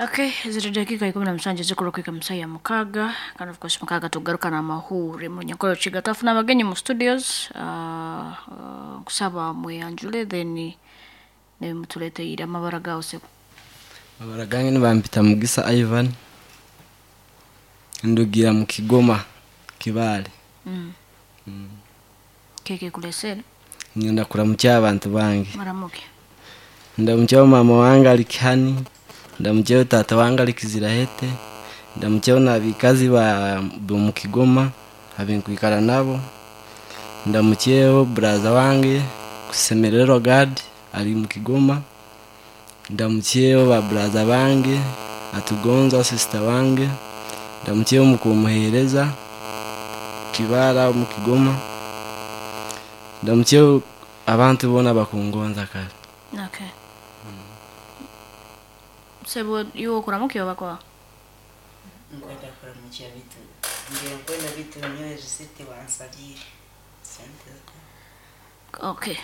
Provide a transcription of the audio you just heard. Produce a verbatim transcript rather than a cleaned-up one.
Okay, ziri dakika ikumi na musanju zikurukwika musaya mukaga, kandi of course mukaga tugaruka n'amahure mu Nyankole Rukiga. Twafuna abagenyi mu studios, uh, uh, nkusaba mweyanjule then nemutuleteire amabara gawe sebo. Amabara gange nibampita Mugisa Ivan, ndugira mu Kigoma Kibaale. Mm. Keke kulesere Ngenda kuramukya abantu bange, maramuke. ndamukyaho mama wange ali Kihani, ndamukyaho tata wange ali Kizirahete, ndamukyaho n'abikazi ba mu Kigoma abenkwikara nabo, ndamukyeho buraza wange Kusemererwa Gad ali mu Kigoma, ndamukyeho ba buraza bange Atugonza sister wange, ndamukyeho mukumuhereza Kibara mu Kigoma, ndamukyeho abantu boona bakungonza kale. Okay. Sebo iwe okuramuke oba kwa? Nkwenda kuramukya bitu ngira nkwenda bitu nyowe risiti bansabire sente. Okay.